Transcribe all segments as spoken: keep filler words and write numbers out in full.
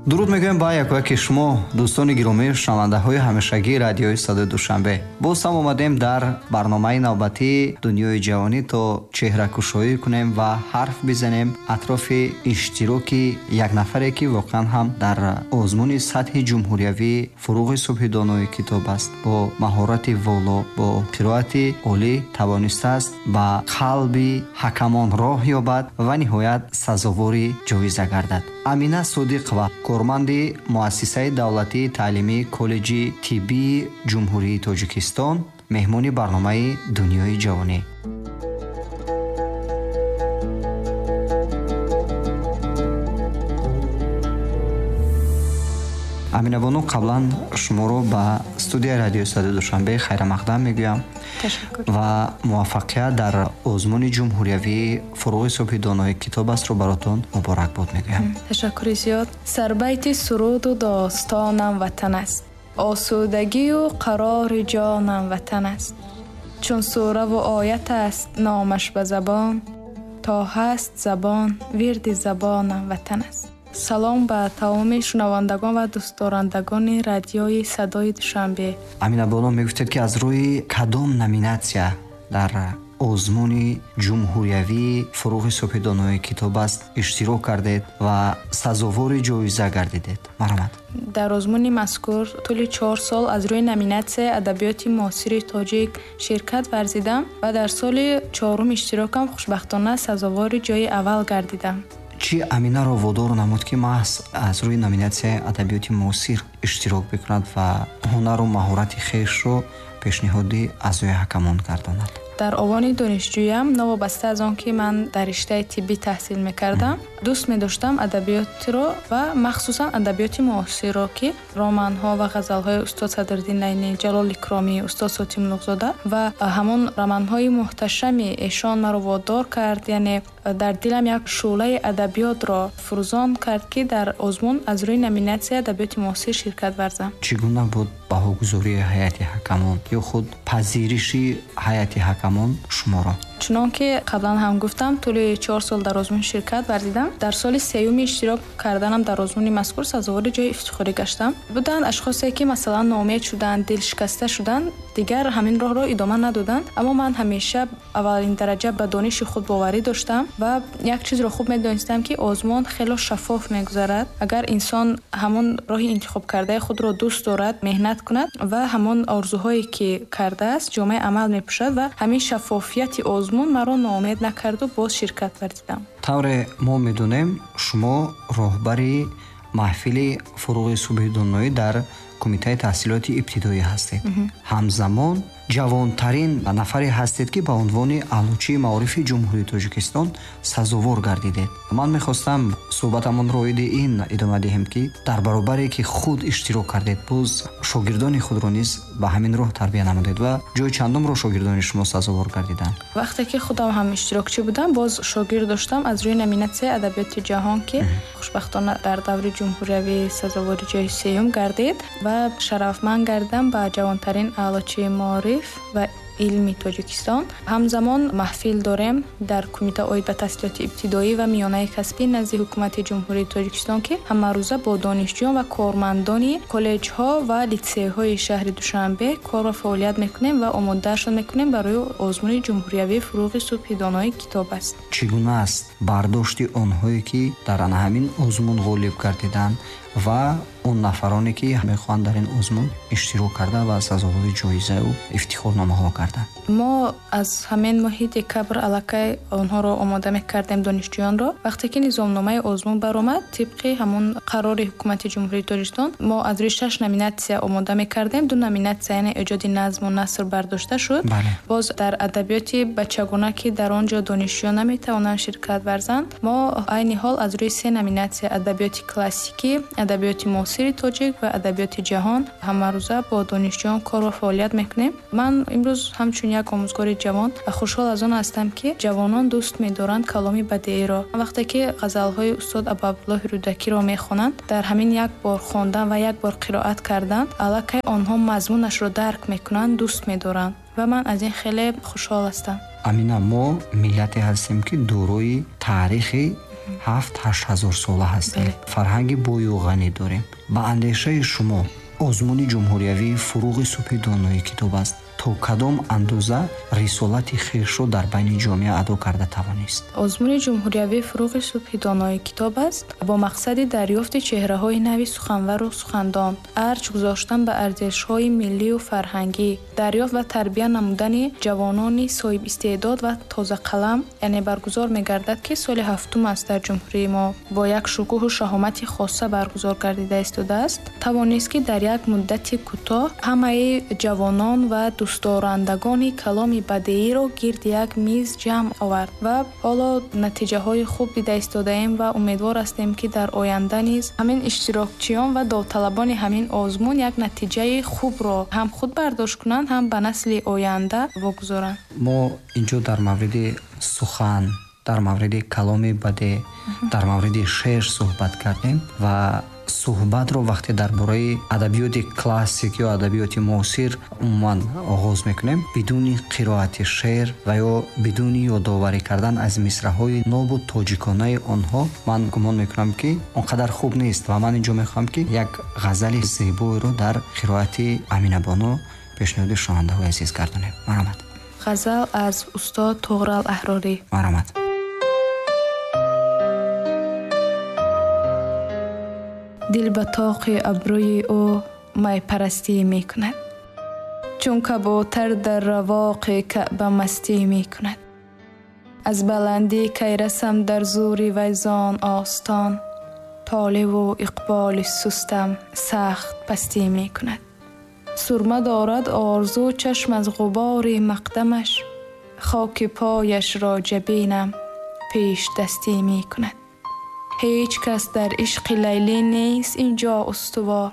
Дуруд мегӯем ба якояки шумо, дӯстони гиромӣ, шунавандаҳои ҳамешагии радиои Садои Душанбе. Боз ҳам омадем дар барномаи навбатии Дунёи ҷавонӣ то чеҳракушоӣ кунем ва ҳарф бизанем атрофи иштироки як нафаре, ки воқеан ҳам дар озмуни сатҳи ҷумҳуриявии Фурӯғи субҳи донои китоб аст, бо маҳорати воло, бо қироати олӣ тавонистааст ба қалби ҳакамон роҳ ёбад ва ниҳоят сазовори ҷоиза гардад. Амина Содиқова, корманди муассисаи давлатии таълимии коллеҷи тиббии Ҷумҳурии Тоҷикистон, меҳмони барномаи Дунёи ҷавонӣ. Амина бону, қаблан шуморо ба студияи радиои Садои Душанбе хайрамақдам мегӯям ва муваффақият дар озмуни ҷумҳуриявии Фурӯғи субҳи донои китоб астро баротон муборакбод мегӯям. Ташаккури зиёд. Сарбайти суруду достонам ватан аст, осудагию қарори ҷонам ватан аст. Чун сураву оят аст номаш ба забон, то ҳаст забон вирди забонам ватан аст. Салом ба тамоми шунавандагон ва дӯстдорандагони радиои Садои Душанбе. Амина бону, мегуфтед, ки аз рӯи кадом номинатсия дар озмуни ҷумҳуриявии Фурӯғи субҳи донои китоб аст иштирок кардед ва сазовори ҷоиза гардидед? Марҳамат. Дар озмуни мазкур тӯли чор сол аз рӯи номинатсияи адабиёти муосири тоҷик ширкат варзидам ва дар соли чорум иштирокам хушбахтона сазовори ҷои аввал гардидам. Чӣ Аминаро водор намуд, ки маҳз аз рӯи номинатсияи адабиёти муосир иштирок бикунад ва ҳунару маҳорати хешро пешниҳоди аъзои ҳакамон гардонад? Дар овони донишҷӯям, новобаста аз он ки ман дар риштаи тиббӣ таҳсил мекардам, дӯст медоштам адабиётро ва махсусан адабиёти муосирро, ки романҳо ва ғазалҳои устод Садриддин Айнӣ, Ҷалол Икромӣ, устод Сотим Луғзода ва ҳамон романҳои муҳташами эшон маро водор кард, яъне дар дилам як шӯълаи адабиётро фурӯзон кард, ки дар озмун аз рӯи номинатсияи адабиёти муосир ширкат варзам. Чӣ гуна буд баҳогузории ҳайати ҳакамон ё худ пазириши ҳайати ҳакамон шуморо? Чунон ки қаблан ҳам гуфтам, тӯли чор сол дар озмун ширкат варзидам. Дар соли сеюми иштирок карданам дар озмуни мазкур сазовори ҷои ифтихорӣ гаштам. Буданд ашхосе, ки масалан ноумед шуданд, дилшикаста шуданд, дигар ҳамин роҳро идома надоданд. Аммо ман ҳамеша аввалин дараҷа ба дониши худ боварӣ доштам ва як чизро хуб медонистам, ки озмун хело шаффоф мегузарад. Агар инсон ҳамон роҳи интихобкардаи худро дӯст дорад, меҳнат кунад ва ҳамон орзуҳое ки кардааст ҷомаи амал мепӯшад ва ҳамин шаффофияти озмун маро ноумед накарду боз ширкат варзидам. Тавре мо медонем, шумо роҳбари маҳфили Фурӯғи субҳи доноӣ дар кумитаи таҳсилоти ибтидоӣ ҳастед. Ҳамзамон ҷавонтарин нафаре ҳастед, ки ба унвони аълочии маорифи Ҷумҳурии Тоҷикистон сазовор гардидед. Ман мехостам суҳбатамонро оиди ин идома диҳем, ки дар баробаре ки худ иштирок кардед, боз шогирдони худро низ ба ҳамин роҳ тарбия намудед ва ҷои чандумро шогирдони шумо сазовор гардиданд? Вақте ки худам ҳам иштирокчӣ будам, боз шогирд доштам аз рӯи номинатсияи адабиёти ҷаҳон, ки хушбахтона дар даври ҷумҳуриявӣ сазовори ҷои сеюм гардид ва шарафманд гардидам ба ҷавонтарин аълочии маориф ва илми Тоҷикистон. Ҳамзамон маҳфил дорем дар кумита оид ба таҳсилоти ибтидоӣ ва миёнаи касбӣ назди ҳукумати Ҷумҳурии Тоҷикистон, ки ҳамарӯза бо донишҷӯён ва кормандони коллеҷҳо ва литсейҳои шаҳри Душанбе кор ва фаъолият мекунем ва омодаашон мекунем барои озмуни ҷумҳуриявии Фурӯғи субҳи донои китоб аст. Чӣ гуна аст бардошти онҳое, ки дар ана ҳамин озмун ғолиб гардиданд ва он нафароне, ки мехоҳанд дар ин озмун иштирок карда ва сазовори ҷоизаю ифтихорномаҳо гарданд? Мо аз ҳамин моҳи декабр аллакай онҳоро омода мекардем, донишҷӯёнро. Вақте ки низомномаи озмун баромад, тибқи ҳамон қарори ҳукумати Ҷумҳурии Тоҷикистон мо аз рӯи шаш номинатсия омода мекардем. Ду номинатсия, яъне эҷоди назму наср бардошта шуд. Боз дар адабиёти бачагона, ки дар он ҷо донишҷӯён наметавонанд ширкат варзанд, мо айни ҳол аз рӯи се номинатсия: адабиёти классикӣ, адабиёти муосири тоҷик ва адабиёти ҷаҳон ҳамарӯза бо донишҷӯён кор ва фаъолият мекунем. Ман имрӯз ҳамчун як омӯзгори ҷавон хушҳол аз он ҳастам, ки ҷавонон дӯст медоранд каломи бадеиро. Вақте ки ғазалҳои устод Абуабдуллоҳи Рӯдакиро мехонанд, дар ҳамин як бор хондан ва як бор қироат кардан аллакай онҳо мазмунашро дарк мекунанд, дӯст медоранд ва ман аз ин хеле хушҳол ҳастам. Амина, мо миллате ҳастем, ки дорои таърихи ҳафт ҳашт ҳазор сола ҳастем, фарҳанги бою ғанӣ дорем. Ба андешаи шумо озмуни ҷумҳуриявии фуруғи субҳи донои китоб аст то кадом андоза рисолати хешро дар байни ҷомеа адо карда тавонист? Озмуни ҷумҳуриявии фуруғи субҳи донои китоб аст бо мақсади дарёфти чеҳраҳои нави суханвару сухандон, арҷ гузоштан ба арзишҳои миллию фарҳангӣ, дарёфт ва тарбия намудани ҷавонони соҳибистеъдод ва тозақалам, яъне баргузор мегардад, ки соли ҳафтум аст дар ҷумҳурии мо бо як шукӯҳу шаҳомати хоса баргузор гардида истодааст. Тавонист, ки дар як муддати кӯтоҳ ҳамаи ҷавонон ва дӯстдорандагони каломи бадеиро гирди як миз ҷамъ овард ва ҳоло натиҷаҳои хуб дида истодаем ва умедвор ҳастем, ки дар оянда низ ҳамин иштирокчиён ва довталабони ҳамин озмун як натиҷаи хубро ҳам худ бардошт кунанд, ҳам ба насли оянда вогузоранд. Мо инҷо дар мавриди сухан, дар мавриди каломи бадеъ, дар мавриди шеър суҳбат кардем ва суҳбатро вақте дар бораи адабиёти классик ё адабиёти муосир умуман оғоз мекунем, бидуни қироати шеър ва ё бидуни ёдоварӣ кардан аз мисраҳои нобу тоҷиконаи онҳо, ман гумон мекунам, ки он қадар хуб нест ва ман инҷо мехоҳам, ки як ғазали зебоеро дар қироати Аминабону пешниҳоди шунавандаҳои азиз гардонем. Марҳамат. Ғазал аз устод Туғрал Аҳрорӣ. Марҳамат. Дил ба тоқи абрӯи ӯ майпарастӣ мекунад, чун кабӯтар дар равоқи каъба мастӣ мекунад. Аз баландӣ кай расам дар зури вайзон остон, толиву иқболи сустам сахт пастӣ мекунад. Сурма дорад орзу чашм аз ғубори мақдамаш, хоки пояшро ҷабинам пешдастӣ мекунад. Ҳеҷ кас дар ишқи Лайлӣ нест инҷо устувор,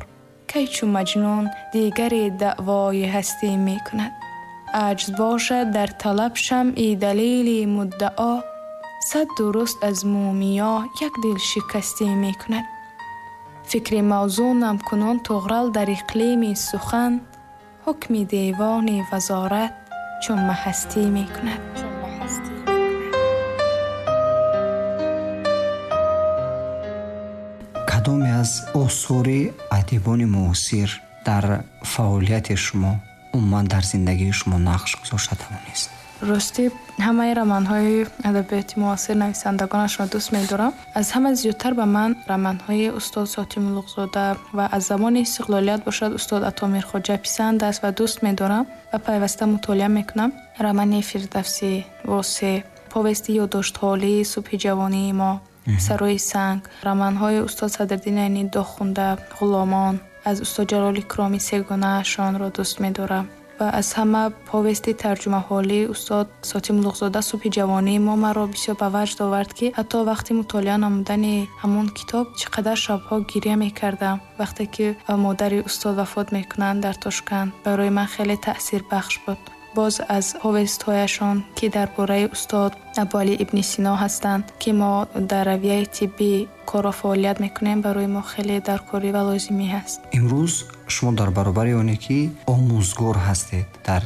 кай чу Маҷнун дигаре даъвои ҳастӣ мекунад. Аҷз бошад дар талаб шамъи далели муддао, сад дуруст аз мумиё як дил шикастӣ мекунад. Фикри мавзунам кунун Туғрал дар иқлими сухан, ҳукми девони вазорат чун маҳастӣ мекунад. Кадоме аз осори адибони муосир дар фаъолияти шумо, умуман дар зиндагии шумо нақш гузошта тавонист? Рости ҳамаи романҳои адабиёти муосир нависандагонашро дӯст медорам. Аз ҳама зиёдтар ба ман романҳои устод Сотим Улуғзода ва аз замони истиқлолият бошад устод Ато Мирхоҷа писанд аст ва дӯст медорам ва пайваста мутолиа мекунам. Романи Фирдавсӣ, Восеъ, повести ёддоштҳолии субҳи ҷавонии мо, Сарои санг, романҳои устод Садриддин Айнӣ Дохунда, Ғуломон, аз устод Ҷалол Икромӣ сегонаашонро дӯст медорам ва аз ҳама повести тарҷумаҳолии устод Сотим Улуғзода субҳи ҷавонии мо маро бисёр ба ваҷд овард, ки ҳатто вақти мутолиа намудани ҳамон китоб чӣ қадар шабҳо гиря мекардам. Вақте ки модари устод вафот мекунанд дар Тошканд, барои ман хеле таъсирбахш буд. Боз аз повестҳояшон, ки дар бораи устод Абуалӣ ибни Сино ҳастанд, ки мо дар равияи тиббӣ корро фаъолият мекунем, барои мо хеле даркорӣ ва лозимӣ ҳаст. Имрӯз шумо дар баробари оне ки омӯзгор ҳастед дар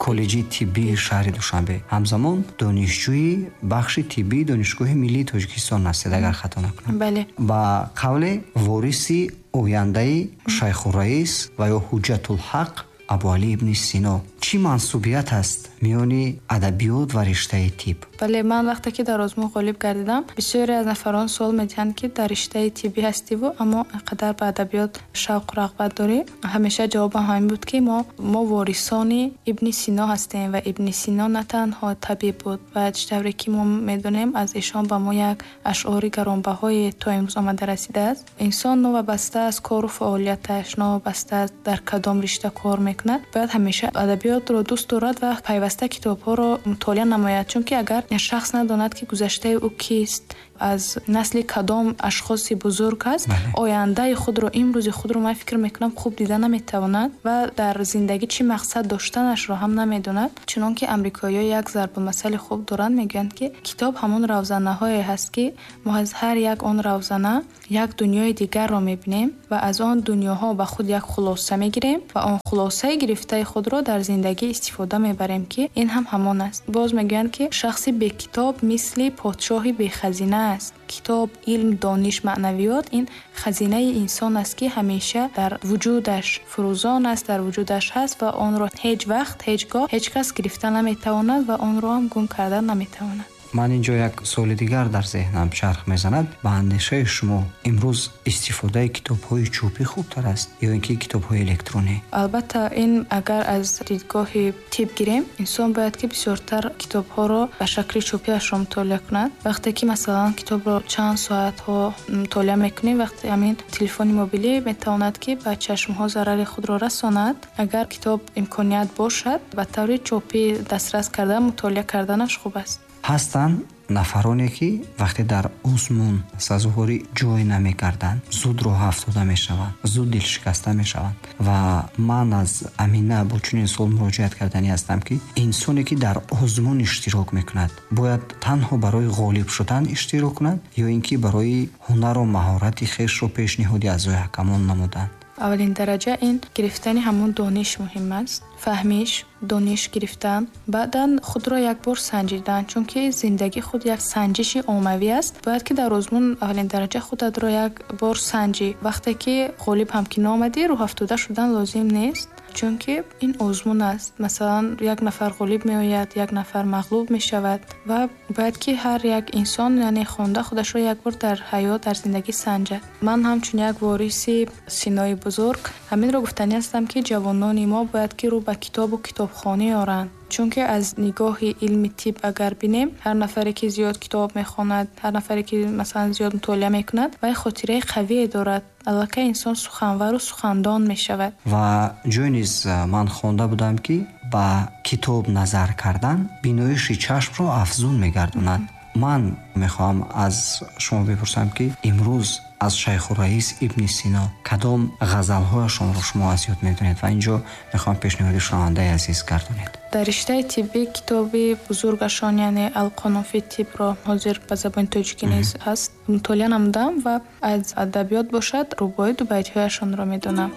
коллеҷи тиббии шаҳри Душанбе, ҳамзамон донишҷӯи бахши тиббии Донишгоҳи миллии Тоҷикистон ҳастед, агар хато накунам. Бале. Ба қавле вориси ояндаи Шайхурраис ва ё Ҳуҷҷатулҳақ Абуалӣ ибни Сино. Чӣ мансубият аст миёни адабиёт ва риштаи тиб? Бале, ман вақте ки дар озмун ғолиб гардидам, бисёре аз нафарон суол медиҳанд, ки дар риштаи тиббӣ ҳастиву, аммо инқадар ба адабиёт шавқу рағбат дорӣ. Ҳамеша ҷавобам ҳамин буд, ки мо, мо ворисони ибни Сино ҳастем ва ибни Сино на танҳо табиб буд ва чӣ тавре ки мо медонем, аз эшон ба мо як ашъори гаронбаҳое то имрӯз омада расидааст. Инсон новобаста аз кору фаъолияташ, новобаста аз дар кадом ришта кор мекунад, бояд ҳамеша адабиётро дӯст дорад ва пайваста китобҳоро мутолиа намояд, чунки агар шахс надонад, ки гузаштаи ӯ кист, аз насли кадом ашхоси бузург аст, ояндаи худро, имрӯзи худро ман фикр мекунам хуб дида наметавонад ва дар зиндагӣ чӣ мақсад доштанашро ҳам намедонад. Чунон ки амрикоиҳо як зарбулмасали хуб доранд, мегӯянд, ки китоб ҳамон равзанаҳое ҳаст, ки мо аз ҳар як он равзана як дунёи дигарро мебинем ва аз он дунёҳо ба худ як хулоса мегирем ва он хулосаи гирифтаи худро дар зиндагӣ истифода мебарем, ки ин ҳам ҳамон аст. Боз мегӯянд, ки шахси бекитоб мисли подшоҳи бехазина аст. Китоб, илм, дониш, маънавиёт ин хазинаи инсон аст, ки ҳамеша дар вуҷудаш фурӯзон аст, дар вуҷудаш ҳаст ва онро ҳеҷ вақт, ҳеҷ гоҳ ҳеҷ кас гирифта наметавонад ва онро ҳам гум карда наметавонад. Ман инҷо як суоли дигар дар зеҳнам чарх мезанад. Ба андешаи шумо имрӯз истифодаи китобҳои чӯпӣ хубтар аст ё ин ки китобҳои электронӣ? Албатта, ин агар аз дидгоҳи тиб гирем, инсон бояд ки бисёртар китобҳоро ба шакли чӯпиашро мутолиа кунад. Вақте ки масалан китобро чанд соатҳо мутолиа мекунем, вақте ҳамин телефони мобилӣ метавонад ки ба чашмҳо зарари худро расонад. Агар китоб имконият бошад, ба таври чӯпӣ дастрас карда мутолиа карданаш хуб аст. Ҳастанд нафароне ки вақте дар озмун сазовори ҷой намекарданд, зуд роҳ афтода мешаванд, зуд дилшикаста мешаванд. Ва ман аз Амина бо чунин суол муроҷиат карданӣ ҳастам, ки инсоне ки дар озмун иштирок мекунад, бояд танҳо барои ғолиб шудан иштирок кунад ё ин ки барои ҳунару маҳорати хешро пешниҳоди аъзои ҳакамон намуданд? Аввалин дараҷа ин гирифтани ҳамон дониш муҳим аст, фаҳмиш, дониш гирифтан, баъдан худро як бор санҷидан, чунки зиндагӣ худ як санҷиши оммавӣ аст. Бояд ки дар озмун аввалин дараҷа худатро як бор санҷӣ. Вақте ки ғолиб ҳам ки наомадӣ, рӯҳафтода шудан лозим нест, чунки ин озмун аст. Масалан, як нафар ғолиб меояд, як нафар мағлуб мешавад ва бояд ки ҳар як инсон, яъне хонда худашро як бор дар ҳаёт, дар зиндагӣ санҷад. Ман ҳамчун як вориси Синои бузург ҳаминро гуфтанӣ ҳастам, ки ҷавонони мо бояд ки рӯ ба китобу китобхонӣ оранд. Чунки аз нигоҳи илми тиб агар бинем, ҳар нафаре ки зиёд китоб мехонад, ҳар нафаре ки масалан зиёд мутолиа мекунад, вай хотираи қавие дорад. Аллакай инсон суханвару сухандон мешавад. Ва ҷой низ ман хонда будам, ки ба китоб назар кардан биноиши чашмро афзун мегардонад. Ман мехоҳам аз шумо бипурсам, ки имрӯз аз Шайхураис Ибни Сино кадом ғазалҳояшонро шумо аз ёд медонед ва инҷо мехоҳам пешниҳоди шунавандаи азиз гардонед. Дар риштаи тиббӣ китоби бузургашон, яъне Алқонун фи тибро ҳозир ба забони тоҷикӣ низ ҳаст, мутолиа намудам ва аз адабиёт бошад рубоӣ ду байтҳояшонро медонам.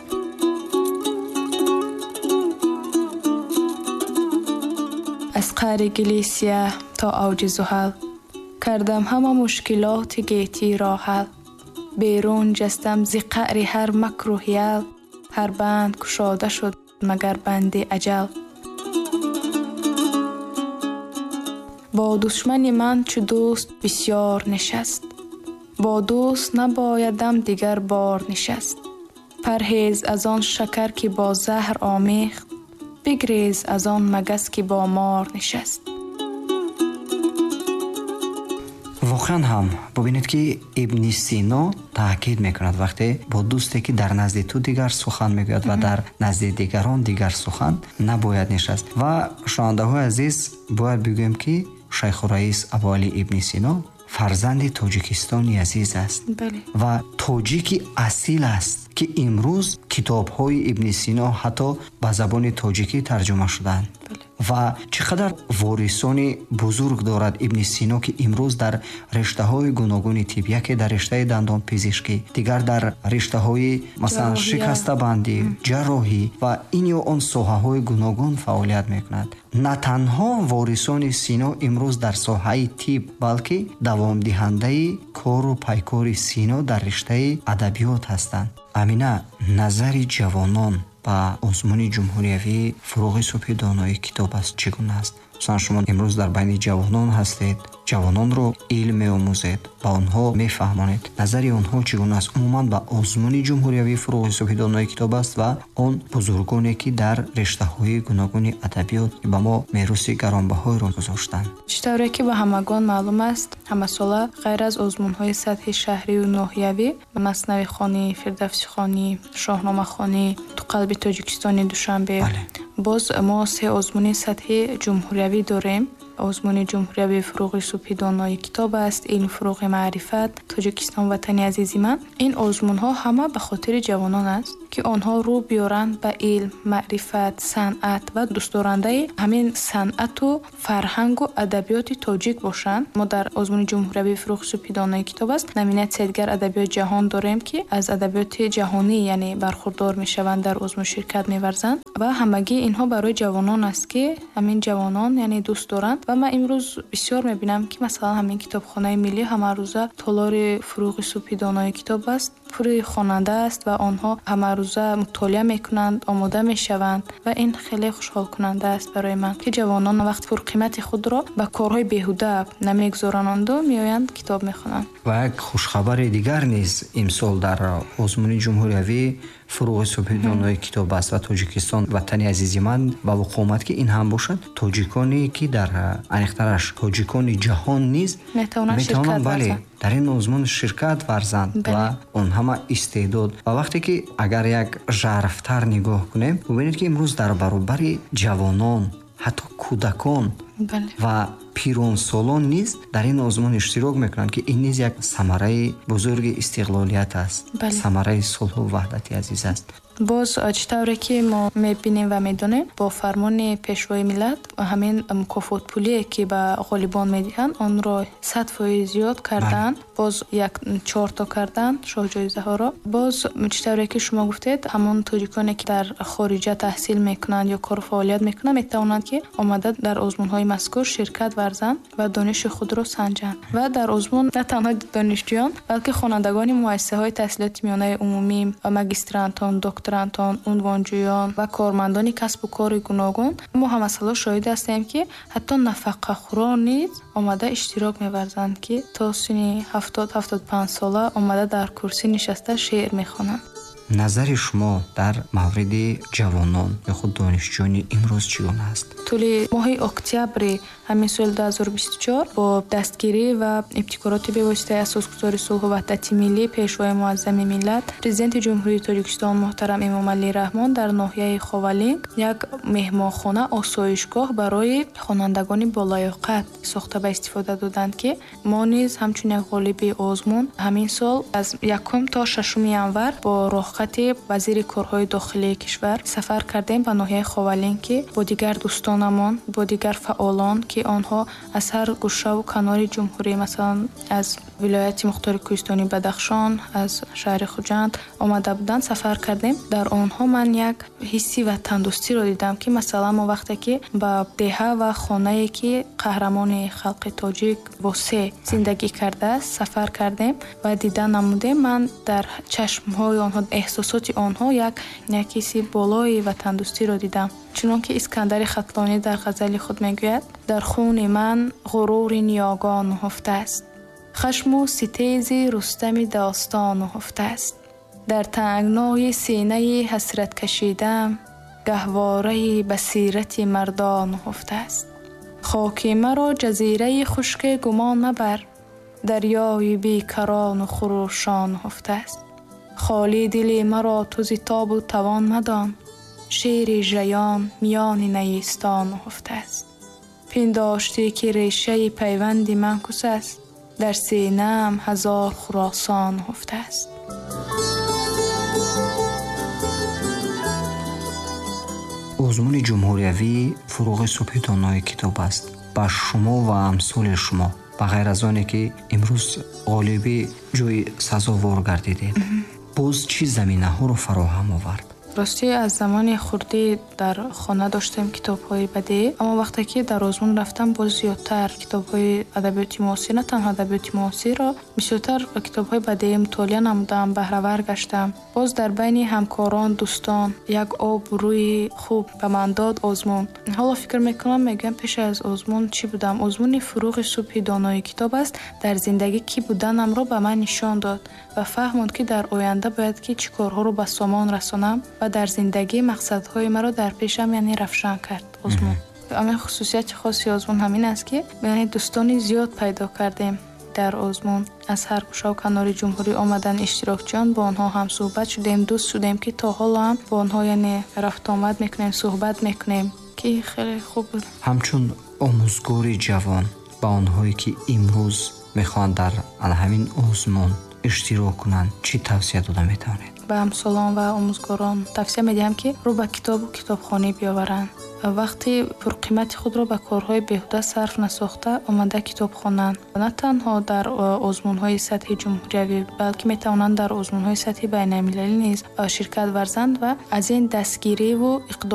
Аз қаъри гили сиёҳ то авҷи зуҳал кардам ҳама мушкилоти гетиро ҳал. Берун ҷастам зи қаъри ҳар макру ҳиял, ҳар банд кушода шуд магар банди аҷал. Бо душмани ман чу дӯст бисёр нишаст, бо дӯст набоядам дигар бор нишаст. Парҳез аз он шакар ки бо заҳр омехт, бигрез аз он магас ки бо мор нишаст. Воқеан ҳам бубинед, ки Ибни Сино таъкид мекунад вақте бо дӯсте ки дар назди ту дигар сухан мегӯяд ва дар назди дигарон дигар сухан набояд нишаст. Ва шунавандаҳои азиз, бояд бигӯем, ки Шайхураис Абуалӣ Ибни Сино фарзанди Тоҷикистони азиз аст ва тоҷики асил аст, ки имрӯз китобҳои Ибни Сино ҳатто ба забони тоҷикӣ тарҷума шуданд. Ва чӣ қадар ворисони бузург дорад Ибни Сино, ки имрӯз дар риштаҳои гуногуни тиб, яке дар риштаи дандонпизишкӣ, дигар дар риштаҳои масалан шикастабандӣ, ҷарроҳӣ ва ин ё он соҳаҳои гуногун фаъолият мекунад. На танҳо ворисони Сино имрӯз дар соҳаи тиб, балки давомдиҳандаи кору пайкори Сино дар риштаи адабиёт ҳастанд. Амина, назари ҷавонон ба озмуни ҷумҳуриявии Фурӯғи субҳи донои китоб аст чӣ гуна аст? Масалан, шумо имрӯз дар байни ҷавонон ҳастед, ҷавононро илм меомӯзед, ба онҳо мефаҳмонед. Назари онҳо чӣ гуна аст умуман ба озмуни ҷумҳуриявии Фурӯғи субҳи донои китоб аст ва он бузургоне ки дар риштаҳои гуногуни адабиёт ба мо мероси гаронбаҳоеро гузоштанд? Чӣ тавре ки ба ҳамагон маълум аст, ҳамасола ғайр аз озмунҳои сатҳи шаҳрию ноҳиявӣ, маснавихонӣ, фирдавсихонӣ, шоҳномахонӣ, ту қалби Тоҷикистони Душанбе, боз мо се озмуни сатҳи ҷумҳуриявӣ дорем. Озмуни ҷумҳуриявии Фурӯғи субҳи донои китоб аст, илм фурӯғи маърифат, Тоҷикистон ватани азизи ман. Ин озмунҳо ҳама ба хотири ҷавонон аст, ки онҳо рӯ биёранд ба илм, маърифат, санъат ва дӯстдорандаи ҳамин санъату фарҳангу адабиёти тоҷик бошанд. Мо дар озмуни ҷумҳуриявии Фурӯғи субҳи донои китоб аст номинатсияи дигар адабиёти ҷаҳон дорем, ки аз адабиёти ҷаҳонӣ яъне бархурдор мешаванд, дар озмун ширкат меварзанд ва ҳамагии инҳо барои ҷавонон аст, ки ҳамин ҷавонон яъне дӯст доранд Ва ман имрӯз бисёр мебинам, ки масалан ҳамин китобхонаи миллӣ ҳамарӯза толори фурӯғи субҳи донои китоб аст, пури хонанда аст ва онҳо ҳамарӯза мутолиа мекунанд, омода мешаванд ва ин хеле хушҳолкунанда аст барои ман, ки ҷавонон вақти пурқимати худро ба корҳои беҳуда намегузорананду меоянд китоб мехонанд. Ва як хушхабари дигар низ имсол дар озмуни ҷумҳуриявӣ фурӯғи субҳи донои китоб аст ва Тоҷикистон ватани азизи ман ба вуқӯъ омад, ки ин ҳам бошад тоҷиконе ки дар аниқтараш тоҷикони ҷаҳон низ метавонанд бале дар ин озмун ширкат варзанд ва он ҳама истеъдод. Ва вақте ки агар як жарфтар нигоҳ кунем, бубинед ки имрӯз дар баробари ҷавонон ҳатто кӯдакон ва пиронсолон низ дар ин озмун иштирок мекунанд, ки ин низ як самараи бузурги истиқлолият аст, самараи сулҳу ваҳдати азиз аст. Боз чӣ тавре ки мо мебинем ва медонем, бо фармони пешвои миллат ҳамин мукофотпулие ки ба ғолибон медиҳанд, онро сад фоиз зиёд карданд, боз як чорто карданд шоҳҷоизаҳоро. Боз чӣ тавре ки шумо гуфтед, ҳамон тоҷиконе ки дар хориҷа таҳсил мекунанд ё кору фаъолият мекунанд, метавонанд ки омада дар озмунҳои мазкур ширкат варзанд ва дониши худро санҷанд. Ва дар озмун на танҳо донишҷӯён, балки хонандагони муассисаҳои таҳсилоти миёнаи умумӣ, магистрантон, докторантон, унвонҷӯён ва кормандони касбу кори гуногун. Мо ҳамасало шоҳид ҳастем, ки ҳатто нафақахӯрон низ омада иштирок меварзанд, ки то синни ҳафтод ҳафтоду панҷ сола омада дар курсӣ нишаста шеър мехонанд. Назари шумо дар мавриди ҷавонон ё худ донишҷӯёни имрӯз чӣ гуна аст? Тӯли моҳи октябри ҳамин соли ду ҳазору бисту чор бо дастгирӣ ва ибтикороти бевоситаи асосгузори сулҳу ваҳдати миллӣ, пешвои муаззами миллат, президенти Ҷумҳурии Тоҷикистон муҳтарам Эмомалӣ Раҳмон дар ноҳияи Ховалинг як меҳмонхона осоишгоҳ барои хонандагони болаёқат сохта ба истифода доданд, ки мо низ ҳамчун як ғолиби озмун ҳамин сол аз якум то шашуми январ бо роҳхати вазири корҳои дохилии кишвар сафар кардем ба ноҳияи Ховалинг, ки бо дигар дӯстонамон, бо дигар фаъолон, ки онҳо аз ҳар гӯшаву канори ҷумҳурӣ, масалан аз вилояти мухтори кӯҳистони Бадахшон, аз шаҳри Хуҷанд омада буданд, сафар кардем. Дар онҳо ман як ҳисси ватандӯстиро дидам, ки масалан мо вақте ки ба деҳа ва хонае ки қаҳрамони халқи тоҷик Восе зиндагӣ кардааст сафар кардем ва дида намудем, ман дар чашмҳои онҳо, эҳсосоти онҳо як як ҳисси болои ватандӯстиро дидам. Чунон ки Искандари Хатлонӣ дар ғазали худ мегӯяд: дар хуни ман ғурури ниёгон нуҳуфтааст, хашму ситези Рустами достон нуҳуфтааст, дар тангнои синаи ҳасрат кашидам гаҳвораи басирати мардон нуҳуфтааст, хоки маро ҷазираи хушке гумон мабар, дарёи бекарону хурӯшон нуҳуфтааст, холӣ дили маро ту зи тобу тавон мадон, шери жаён миёни наистон нуҳуфтааст, пиндоштӣ ки решаи пайванди ман кус аст, дар синаам ҳазор Хуросон нуҳуфтааст. Озмуни ҷумҳуриявии фурӯғи субҳи донои китоб аст. Ба шумо ва амсоли шумо, ба ғайр аз оне ки имрӯз ғолиби ҷои сазовор гардидед, боз чӣ заминаҳоро фароҳам овард? Ростӣ аз замони хурдӣ дар хона доштем китобҳои бадеӣ, аммо вақте ки дар озмун рафтам, боз зиёдтар китобҳои адабиёти муосир, на танҳо адабиёти муосирро, бисёртар китобҳои бадеӣ мутолиа намудам, баҳравар гаштам. Боз дар байни ҳамкорон, дӯстон як обрӯи хуб ба ман дод озмун. Ҳоло фикр мекунам, мегӯям пеш аз озмун чӣ будам? Озмуни фурӯғи субҳи донои китоб аст, дар зиндагӣ кӣ буданамро ба ман нишон дод ва фаҳмонд, ки дар оянда бояд ки чӣ корҳоро ба сомон расонам ва дар зиндагӣ мақсадҳои маро дар пешам яъне равшан кард озмун. Ҳамин хусусияти хоси озмун ҳамин аст, ки яъне дӯстони зиёд пайдо кардем дар озмун. Аз ҳар гӯшаву канори ҷумҳурӣ омадан иштирокчиён, бо онҳо ҳам суҳбат шудем, дӯст шудем, ки то ҳоло ҳам бо онҳо яъне рафтуомад мекунем, суҳбат мекунем, ки хеле хуб буд. Ҳамчун омӯзгори ҷавон ба онҳое ки имрӯз мехоҳанд дар ҳамин озмун иштирок кунанд, чӣ тавсия дода метавонед? Ба ҳамсолон ва омӯзгорон тавсия медиҳам, ки рӯ ба китобу китобхонӣ биёваранд. Вақти пурқимати худро ба корҳои беҳуда сарф насохта омада китоб хонанд. На танҳо дар озмунҳои сатҳи ҷумҳуриявӣ, балки метавонанд дар озмунҳои сатҳи байналмилалӣ низ ширкат варзанд ва аз ин дастгириву иқдом